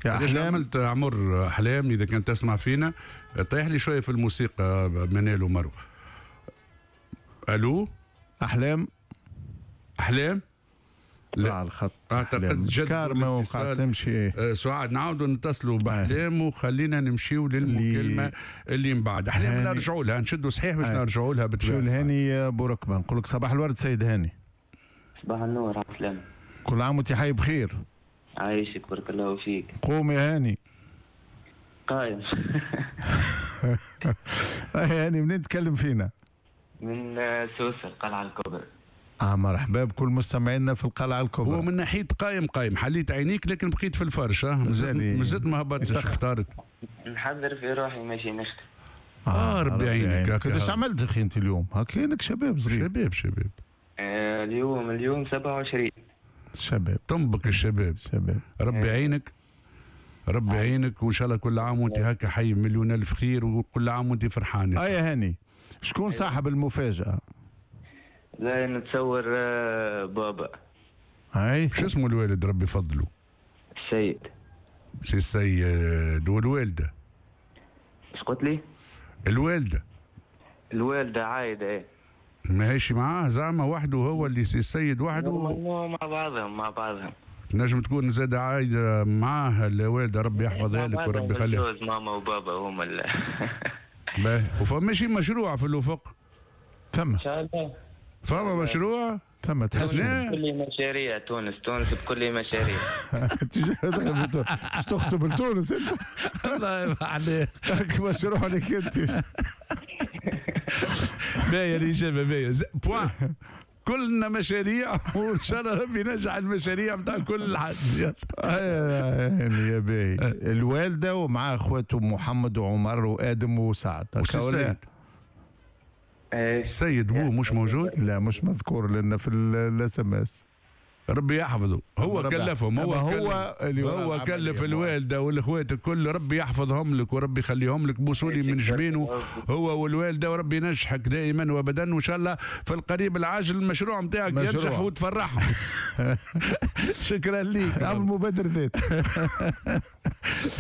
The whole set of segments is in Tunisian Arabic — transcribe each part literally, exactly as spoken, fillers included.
يا احلام عملت عمر احلام، اذا كنت تسمع فينا طيح لي شوية في الموسيقى منال ومروه. الو احلام، احلام لا على الخط. اعتقد جد كارما وقعت تمشي. أه سعاد نعاودوا نتصلوا باحلام وخلينا نمشيو للمكالمه اللي, اللي من بعد. احلام نرجعوا لها، نشدوا صحيح باش نرجعوا لها بالطبيعة. الهاني بوركبه، نقول لك صباح الورد سيد هاني. صباح النور، على السلامة. كل عام وانت حي بخير. عايشك بارك الله فيك. قوم يا هاني. قايم. يا هاني منين تكلم فينا؟ من سوسة القلعة الكبرى. اه مرحبا بكل مستمعينا في القلعة الكبرى. هو من ناحية قايم قايم، حليت عينيك لكن بقيت في الفرش. اه مازلت ما هبطتش، اختارت. نحضر في روحي ماشي نخدم. اه ربي يعينك. قداش عملت اخي انت اليوم؟ هكاك شباب صغير. شباب شباب. آه اليوم اليوم سبعة وعشرين. شباب تنبك الشباب. شباب ربي يعينك، ربي يعينك، وان شاء الله كل عام وانت هكا حي مليون الف خير، وكل عام وانت فرحان. اه يا هاني، شكون صاحب المفاجأة؟ لا نتصور بابا. هاي شو اسمه الوالد ربي يفضله؟ السيد. سي السيد. والوالدة؟ اش قلت لي؟ الوالدة. الوالدة عايدة. ايه ماهيش معاه زعما وحده، هو اللي سي السيد وحده؟ مع بعضهم مع بعضهم. نجم تكون زاد عايدة معاه الوالدة، ربي يحفظها لك وربي يخليها. ماما وبابا هما اللي باهي. وفما شي مشروع في الافق؟ ثم ان شاء الله فما مشروع؟ ثم تحس بكل مشاريع تونس، تونس بكل مشاريع. باش تخطب لتونس انت؟ الله يبارك عليك. مشروع لك انت. باهية الإجابة، باهية. point. كلنا مشاريع وان شاء الله ربي ينجح المشاريع نتاع كل حد. يا باهي. الوالدة ومع اخواته محمد وعمر وادم وسعد. السيد السيد بوه مش موجود؟ لا مش مذكور لنا في ال SMS. ربي يحفظه، هو كلفهم، هو هو اللي هو كلف الوالدة والاخوات الكل، ربي يحفظهم لك وربي يخليهم لك، بوصولي من جبينه هو والوالدة، وربي ينجحك دائما وابدا، وان شاء الله في القريب العاجل المشروع نتاعك ينجح وتفرحهم. شكرا لك. عمل مبادر ذات.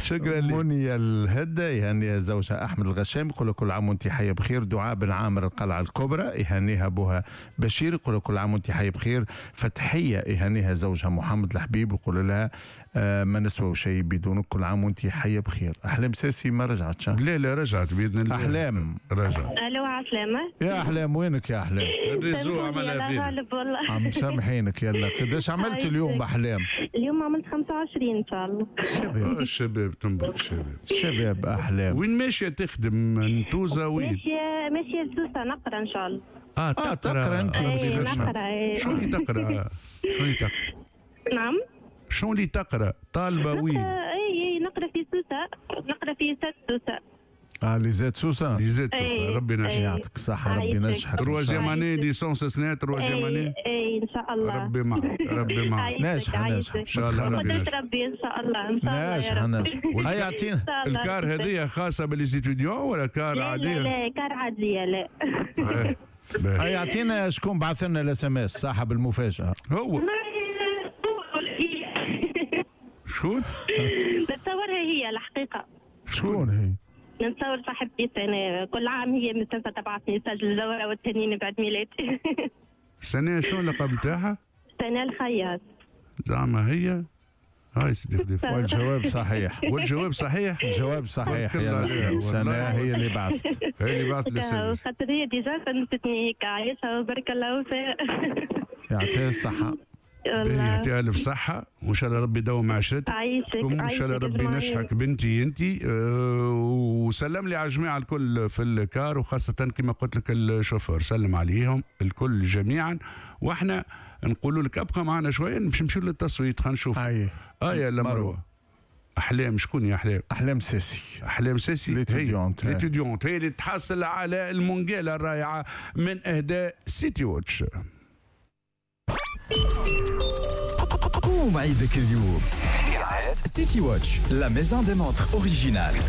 شكرا لك. منيا الهدى يهنيها زوجها احمد الغشام، يقول كل عام وانت حيه بخير. دعاء بن عامر القلعة الكبرى يهنيها ابوها بشير، يقول كل عام وانت حيه بخير. فتحيه يهنيها زوجها محمد الحبيب، ويقول لها آه ما نسوى شيء بدونك، كل عام وانت حيه بخير. احلام ساسي ما رجعتش؟ لا لا رجعت باذن الله. احلام رجعت. الو عسلامة. يا احلام وينك يا احلام؟ ال réseau عملها فينا. عم سامحينك. يلا قداش عملت اليوم احلام؟ اليوم عملت خمسة وعشرين ان شاء الله. شباب الشباب تنبك الشباب. شباب احلام. وين ماشية تخدم نتوزه وين؟ ماشية ماشية لسوسه نقرا ان شاء الله. اه تقرا, آه تقرأ انت. إيه نقرا. إيه. شو اللي تقرا؟ شو اللي تقرا؟ نعم. شو اللي تقرا؟ طالبه وين؟ اي اي نقرا في سوسة، نقرا في ISET سوسة. اه l'ISET سوسة؟ l'ISET سوسة، ربي ينجحك. يعطيك الصحة، ربي ينجحك. troisième année licence سنة troisième année. اي ان شاء الله. ربي معك، ربي معك. ناجحة ناجحة ان شاء الله. ربي ينجحك. ربي ان شاء الله، ان شاء الله. ناجحة ناجحة. هيا اعطينا ال car هذه خاصة ب les étudiants ولا car عادية؟ لا لا car عادية لا. هيا اعطينا شكون بعث لنا ال SMS صاحب المفاجأة؟ هو شكون؟ نتصورها هي الحقيقة. شكون هي؟ نتصور صاحبتي سنة، كل عام هي مستنسة تبعث message للزورة والتهنين بعد ميلادي. سنة شو اللقب نتاعها؟ سنة الخياط. زعما هي؟ هاي سيدي خليفة. والجواب صحيح. والجواب صحيح؟ الجواب صحيح. يا سنة هي اللي بعثت. هي اللي بعثت ال SMS. خاطر هي déjà فهمتني هيك عايشة وبارك الله فيها. يعطيها الصحة. يعطيها ألف صحة، وإن شاء الله ربي يدوم عشرتك. عايشك. وإن شاء الله ربي ينجحك بنتي أنت. أه وسلم لي على الجماعة الكل في ال car، وخاصة كما قلت لك الشوفور، سلم عليهم الكل جميعا. وإحنا نقولوا لك أبقى معنا شوية باش نمشيو للتصويت، خلينا نشوف. أي آه يا مروة. أحلام شكون يا أحلام؟ أحلام ساسي. أحلام ساسي l'étudiante. l'étudiante هي اللي تحصل على المونجيلا الرائعة من إهداء سيتي واتش. قوم عيدك اليوم. سيتي واتش، la maison des montres originales.